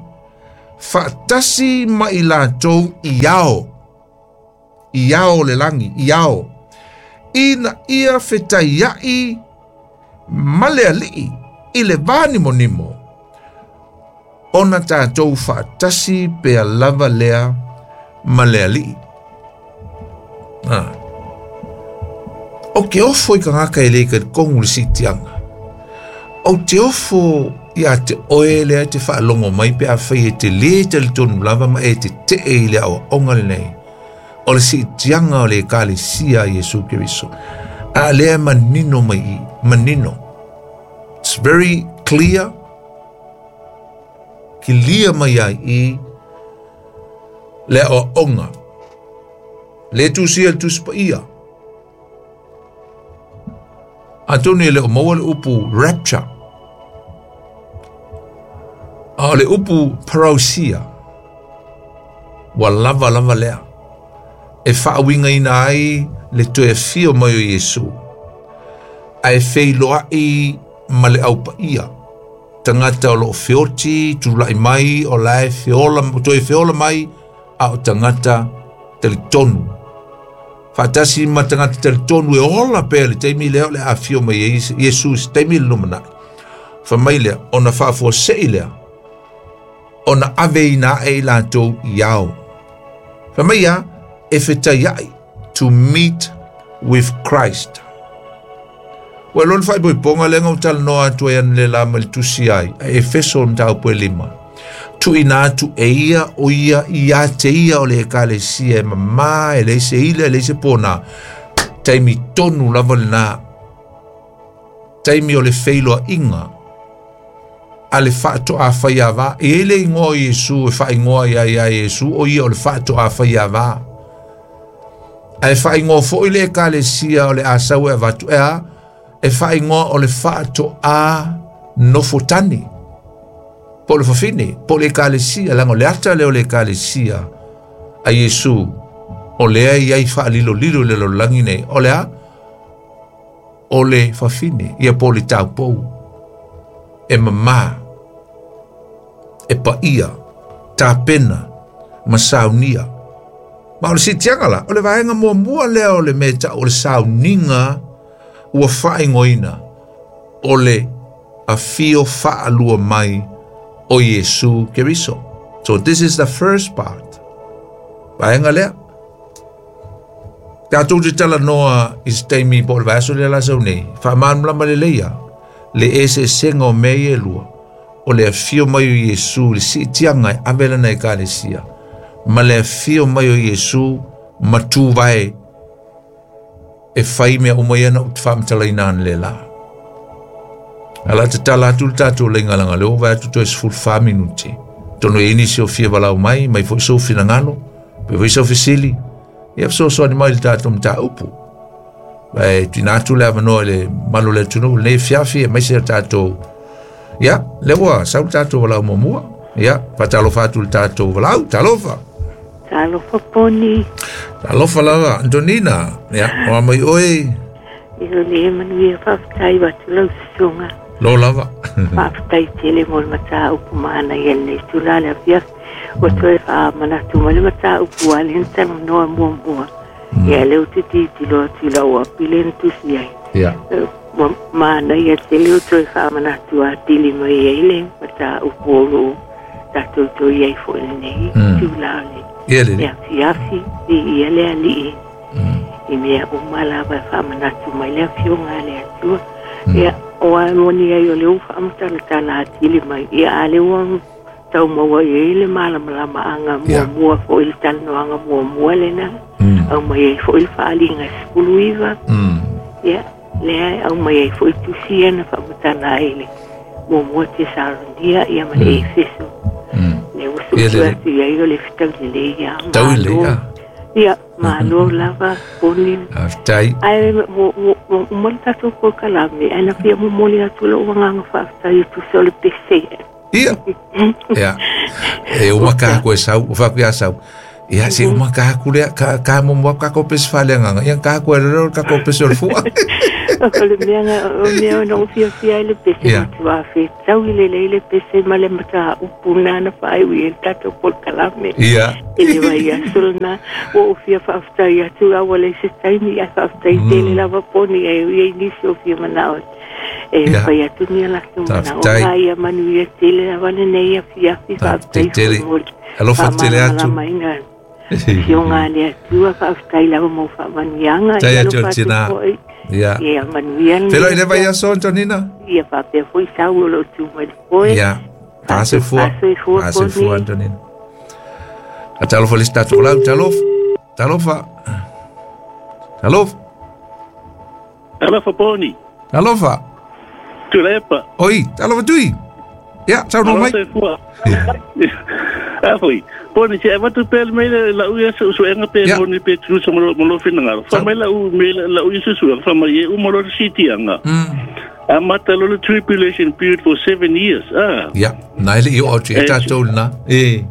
faatasi ma i latou i ao, i ao o le lagi, i ao, ina ia fetaia'i ma le Alii i le vanimonimo, ona tatou faatasi pea lava lea ma le Alii. O ke ofo i tagata e le talitonu i le siitiaga. Ou te ofo ia te oe lea e te faalogo mai pe afai e te lē talitonu lava ma e tete'e i le aoaoga lenei o le siitiaga o le Ekalesia a Iesu Keriso. A lea e manino mai i, manino. It's very clear. Kilia mai ai i le aoaoga. Le tusia le Tusi Paia. Atonu e le o maua le upu rapture. A o le upu parousia, ua lava lava lea e faauigaina ai le toe afio mai o Iesu, ae feiloai ma le aupaia, tagata o loo feoti tulai mai o la e feola, toe feola mai, a o tagata talitonu. Faatasi ma tagata talitonu e ola pea le taimi lea o le afio mai ai Iesu i se taimi le lumanai. Fai mai lea, ona faafuasei lea, ona aveina ae i latou i ao. Fai mai ia, e fetaiai, to meet with Christ. Ua iloa le faaipoipoga lea na ou talanoa atu ai analeila ma le tusi ai, a Efeso mataupu e 5. Tuuina atu e ia o ia ia te ia o le Ekalesia e mamā, e leai se ila, e leai se pona. Taimi tonu lava lena. Taimi o le feiloaiga a le faatoafaiava. E i ai le igoa o Iesu e faaigoa ia ia Iesu, o ia o le faatoafaiava. Ae faaigoa foi le Ekalesia o le a sau e avatu, e a? E faaigoa o le faatoa nofotane. Po o le fafine, po o le Ekalesia, leaga o le ata lea o le Ekalesia a Iesu, o lea e i ai faalilolilo i le lalolagi nei, o le a? O le fafine, ia po o le taupou, e mamā, e paia, tapena, ma saunia. Ma o le siitiaga la, o le vaega muamua lea o le mea e tau o le sauniga ua faaigoaina o le afio faalua mai o Iesu Keriso. So this is the first part. Vaega lea. Tatou te talanoa i se taimi po o le vaiaso lea la sau nei, faamalamalama lelei lava le eseesega o mea ia e lua, o le afio mai o Iesu i le siitiaga e ave lana Ekalesia, ma le afio mai o Iesu ma tuvae e fai mea uma ia na ou faamatalaina analeila. A o le a tatala atu le tatou laina leaga o lea ua vaai atu toe 14 minute. Atonu e i ai nisi o fia valaau mai, mai foi sou finagalo, pe foi sau fesili, ia fesoasoani mai i le tatou mataupu. E tuuina atu le avanoa i le mamalu o le atunuu i lenei afiafi aemaise o tatou. Ia, lea ua sau le tatou valaau muamua. Ia, faatalofa atu i le tatou valaau. Talofa. Talofa Poni. Talofa lava, Antonina. Ia, o a mai oe? Ia le manuia, faafetai atu lau susuga. Lo lava. Faafetai tele mo le mataupu manaia i lenei itula le afiafi. Ua toe faamanatu mai le mataupu a lea na talanoa muamua. Ia lea ou te tilotilo atu i lau api lea na tusi ai. Ia. Ua manaia tele ua toe faamanatu atili mai ai le mataupu o lo o tatou toe i ai foi i lenei itula o le Ia lelei. afiafi. Viia le Alii i mea uma lava e faamanatu mai le Afioga a le Atua. Ia, o a moni ai o lea ua faamatalatala atili mai, ia a lea ua tau maua i ai le malamalamaaga muamua foi i le talanoaga muamua lena, aumai ai foi le faaaliga e 19, ia, lea e aumai ai foi tusi ia na faamatala ai le muamua Tesalonia ia ma le Efeso. Lea ua suesue atu i ai o le fetau lelei ia. Tau lelei ia. Ia, malo lava, Poni. Faafetai. Ae ua uma le tatou polokalame, ae na fia momoli atu lou agaga faafetai e tusa o le pese. Ia. Ia. E uma ka koe sau, o whaku ia sau. Ia se uma ka aku lea ka mo mo ka ko pes fale nganga. Ia ka aku ero ka ko pes o fua. O le mea o mea no fia fia le pese Ia. matua fe tau i le le pese ma le mata upu nana fai ui e tato pol kalame. Ia. I le vai aso na o fia faafetai atu a ua le se taimi a faafetai tele lava poni e ui ai nisi o fia manao. E Ia. fai atu ni a latou manao. Faafetai. Ga ia manuia tele lava lenei afiafi Faafetai faafetai tele. foi mo le Alofa tele atu. faamalamalamaina. Fioga a le Atua faafetai lava mo faamanuiaga. Tai Ia atu alofa atu tina. foi. Ia. Ia manuia lenei Felo i le vai afiafi. aso Antonina. Ia faapea foi sau o loo tu mai le foe. Ia. Pase fua. Fasoifua Pase fua poni. Antonina. A talofa le statu lau talofa. Talofa. Talofa. Alofa poni, Talofa. tulepa, Oi, talofa tui. Ia, sau no mai. alofa fua. Afoi, poni se avatu pe le mele la u yesu su enga pe Ya. poni pe tu so mo mo fina ngaro. Fa Sau. mai la u mele la u yesu su fa mai e u mo lo city anga. Amata lo le tribulation period for 7 years. Ah. Ia, nai le i o atu e Eh, tātou na. E.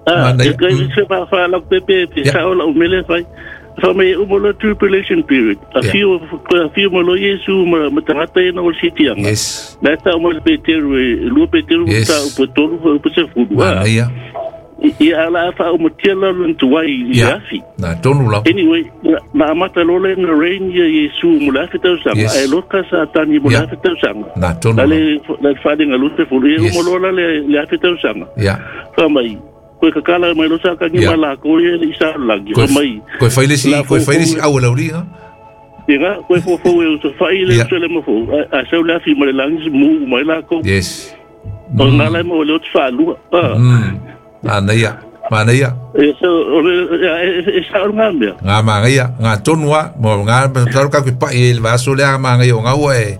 Ah, Mana e ia. kai se fa fa la pe pe pe Ya. sa o la u mele fai. Fa mai u mo lo tribulation period. A Ya. fiu a fiu mo lo yesu ma ma tangata e na o city anga. Yes. Na ta o mo le Peteru e lua Peteru Yes. ta o petolu o pe fulu. Mana ia. I ala fa o matiala lo tuai i Ia. afi. Na tonu lau. Anyway, na amata lole na rain ia Yesu mo le afi tausaga. Yes. Ai loka sa tani mo le Ya. afi tausaga. Na tonu La lau. le la le nga lute fulu e Yes. mo lola le afi tausaga. Ia. Fa mai koe kakala mai lo sa kangi Ya. ma la ko e i sa lagi. Koe Fa mai koe whaile si, La koe whaile si fo- au lau ringa. inga koe fo fo e so fa i le Ya. so le mo fo. A sa le afi mo le langi mu mai la ko. Yes. O ngā lai mo le o te whaalua. Ah. Mana ia. Mana ia. E so o le e sa o ngā mea. Ngā manga ia, ngā tonua, mo ngā taru ka koe pai e le vaso lea manga ia o ngā ua e,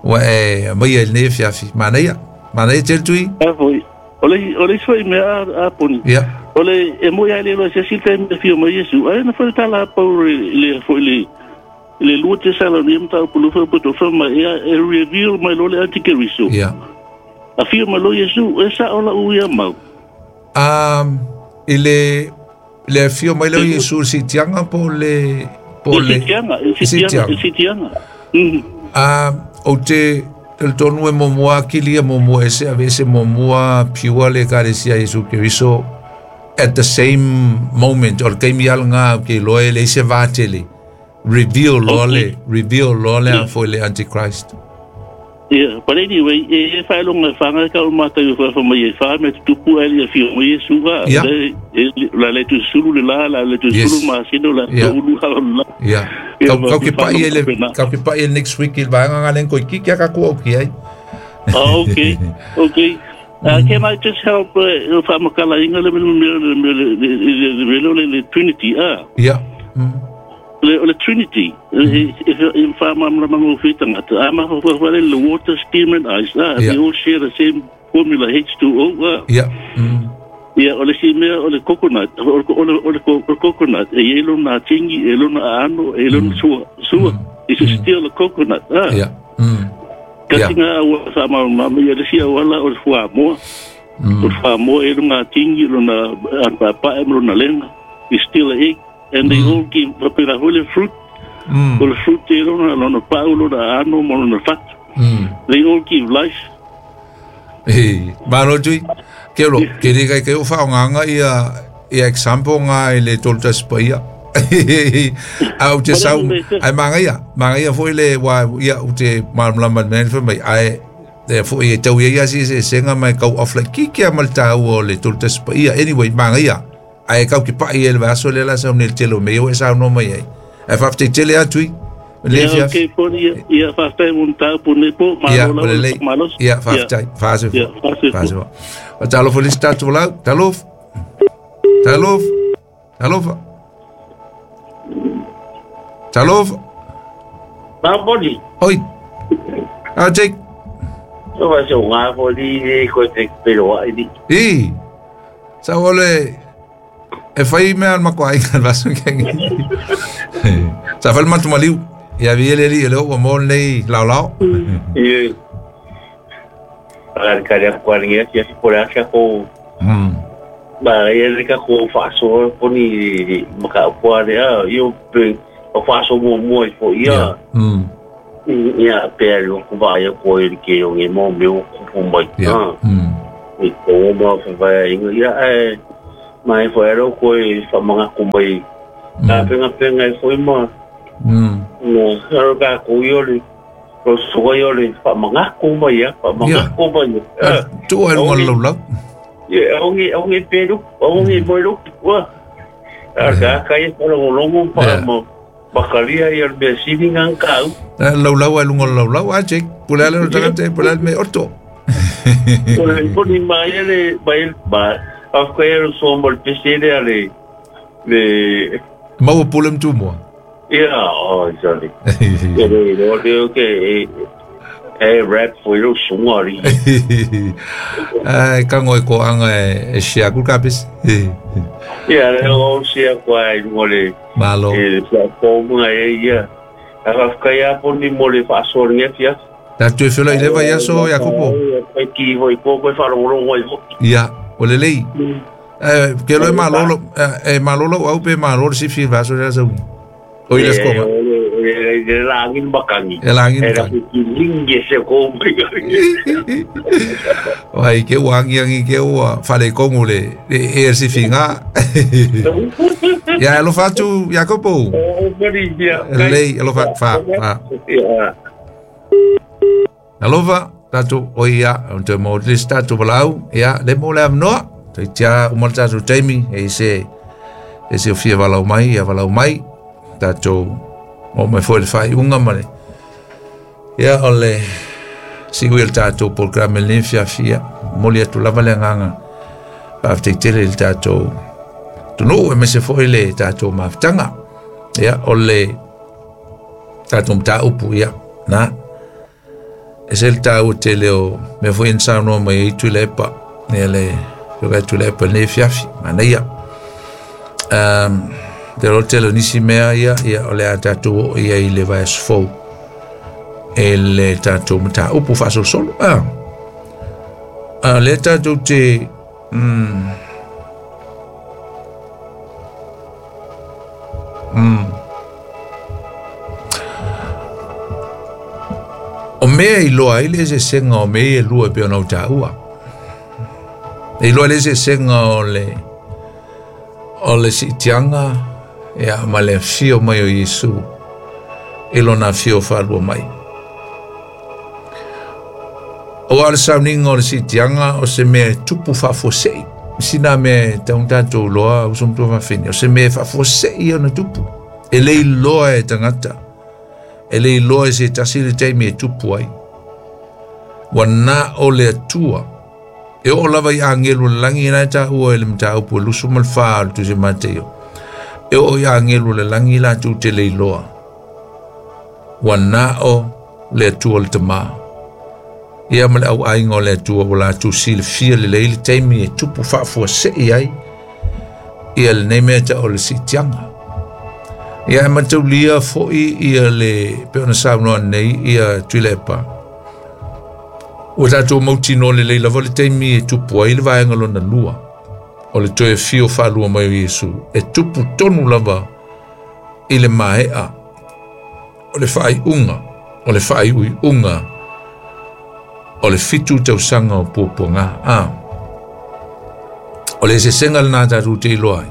ua e mai e le fiafi. Mana ia, mana ia tele tui. A foi. O le isua i mea a poni. Ia, O le e mo ia le lo se sita me fio mo Yesu. Ai na foi tala pau le foi le le lua te sala ni mta pulu foi puto foi ma ia e reveal mai lo le antikristo. ia. A fio mai lo Yesu e sa ola u ia mau. I le fio mai leo Yesu si tianga po le, po E le. si tianga, e si tianga, e si tianga. O te, te tonu e momua kili e momua ese, ave ese momua piua le karesia Yesu Keriso at the same moment, o le kaimi ala ngā ke loe le ise vātele. Reveal lole, reveal lole a foi le Antichrist. Yeah, but anyway, e e whaelonga e whanga ka o mātou e whafa mai e wha me te tupu ai le fio mai e suga. Yeah. Le, la le tu sulu le la, la le tu Yes. sulu ma sino la Yeah. tu ulu ha la. Yeah. Ia, Kau ma- kau ke pai ele whanau kau ke pai ele next week il vaanga ngā len koi kiki a ka kua o ki ai. Oh, okay, okay. Can I just help whamakala inga le mele mele mele le mele le le Trinity ah Yeah. le le Trinity e whamamla mango whitangata ama wha le water steam and ice ah Yeah. they all share the same formula H2O ah Yeah. Ia, o le si mea o le coconut, o le, o le, o le, o le coconut, e e lona tingi, e lona ano, e lona sua, sua, it's still a coconut, ah. Yeah. Kasi Yeah. nga awa sa mama, ia le si awala o le fuamoa, o le fuamoa e lona tingi, lona anpapa, e lona lenga, it's still a egg, and they all give, papera hoi le fruit, o le fruit e lona, lona pau, lona ano, ma lona fatu, they all give life. E, malo tui. Ke ro, ke re kai kai o wha nganga ia ia example ngā i le tolu taspaia. Au te sau, ai manga ia, manga ia foi le wa ia u te malamlama men foi mai ai e foi e tau ia ia si se senga mai kau off like kiki a mal tau o le tolu taspaia. Anyway, manga ia. Ai kau ki pai e le vaso le la sau ne telo me o e sau no mai ai. Ai whafte tele atu i. Le Ia, fia. okay, poni, ia, ia whaftai mun tau pone po, Ia, malo o le la, lei. malos. Ia, whaftai, whase Ia, fua. whase Whase fua. O talofa le statu lau, talofa. Talofa. Talofa. Talofa. Nā poni, Oi. Ah, Jake. so wa se ngā poni e koe te peroa i ni. I. Sa ole e fai mea al mako ai kan vaso kengi. Sa fal matu maliu. Ia vi ele li ele o mo nei lau lau. I Agari kare a kuaringi ati ati pore asia ko Ma ia le ka ko faasoa poni maka pua le a io pe o faaso muamua i fo'i ia. Ia pe lo ku va ia ko i ke o nge mo me o kupu mai. I ko ma fa va ia e mai fo ero ko i fa manga ku mai. Ka penga penga i foi ma. No, ero ka ko i ole. Ro so i ole fa manga ku mai ia, fa manga ku mai. Tu ai lunga lau lau. Ia, ongi peru, ongi moiru. Wa. Ka kai ko longo longo pa mo. Bakalia ia le sini ngang kau. Lau lau ai lunga lau lau a check. Pula le tagate pula me oto. Ko ni mai le mai ba. Af ka ero so mo le pesele ale le mau pulem tu mo. Ia, oh sorry. Ia le le ke e rap foi lo sungari. Ai ka ngoi ko anga e sia ku kapis. Ia le o sia kwa i mo le malo. E platform e ia. A ka ia poni mo le fa so nge fia. Ta tu felo i leva ia so Jacopo. Ai ki voi ko ko fa ro ro oi. Ia, o le lei. Ke lo malolo e malolo au pe malolo si fi vaso ya so. O ile skoma. E langin bakangi. E langin bakangi. E lingi se ko Ai ke wangi angi ke ua fale kongu le e si finga. Ya lo fatu Jacopo. Lei lo fa fa. Alova tatu oia te mo lista tu balau ya le mo le amnoa te tia o mo tatu taimi e se o fia valau mai ia valau mai tatu o mai foi le fai unga male ia o le siui le tatou programe le fiafia moli atu lava le agaga faafetai tele i le tatou atunuu e mese foi le tatou mafutaga ia o le tatou mataupu ia na e se le taua tele o mea foi na saunoa mai ai Tuilaepa ia le fioga Tuilaepa lenei fiafi manaia te ro tele o nisi mea ia ia o le a tatou oo ia i le vaiaso fou e le tatou mataupu faasolosolo a le tatou te O mea i loa ai le eseesega o mea ia e lua e pei ona ou taua. E iloa le eseesega o le siitiaga ia ma le afio mai o Iesu i lona afio faalua mai. O le sauniga o le siitiaga o se mea e tupu faafuasei. Sina mea e taun tatou loa uso matua faafine. O se mea e faafuasei ona tupu. E le iloa e tagata. E le iloa e se tasi le taimi e tupu ai. Ua na o le Atua. E oo lava i agelu le lagi na e taua e le mataupu e 24 o le Tusi Mateio. E oo i agelu le lagi latou te le iloa. Ua na o le Atua le Tamā. Ia ma le auaiga o le Atua ua latou silafia lelei le taimi e tupu faafuasei ai ia lenei mea ta o le siitiaga. Ia e mataulia fo'i ia le pe ona saunoa nei ia Tuilaepa. Ua tatou mautinoa lelei lava le taimi e tupu ai le vaega lona lua o le toe afio faalua mai o Iesu e tupu tonu lava i le maea o le faaiuga o le faaiuiuga o le 7 tausaga o puapuaga. O le eseesega lenā tatou te iloa ai.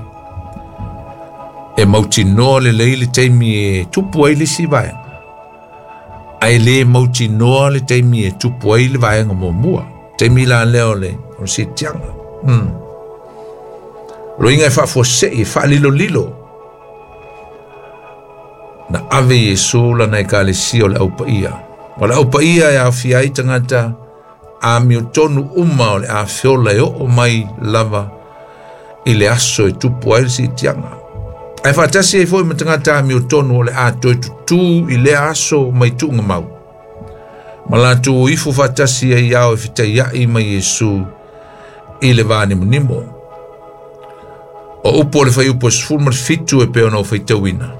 E mautinoa lelei le taimi e tupu ai le isi vaega. Ae le mautinoa le taimi e tupu ai le vaega muamua. Taimi la lea o le siitiaga. Loiga e faafuasei, e faalilolilo. Na ave Iesu lana ekalesia o le aupaia. O le aupaia e aofia ai tagata amiotonu uma o le afiola e oo mai lava i le aso e tupu ai le siitiaga. Ae faatasi ai foi ma tagata amiotonu o le a toe tutū i lea aso mai tuuga mau. Ma latou ifo faatasi ai ao e fetaiai mai Iesu i le vanimonimo. O upu o le faiupu e 17 e pei ona ou faitauina.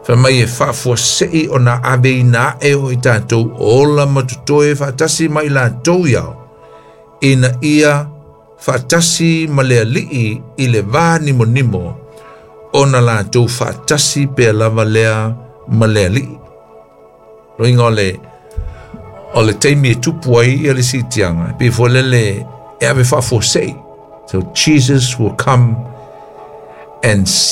Fai mai e faafuasei ona aveina ae o i tatou ola ma totoe faatasi mai latou iao ina ia Faatasi ma le Alii i le va nimonimo ona latou faatasi pea lava lea ma le Alii. Loiga o le o le taimi e tupu ai ia le siitiaga, e pei foi lele e ave faafuasei. So Jesus will come and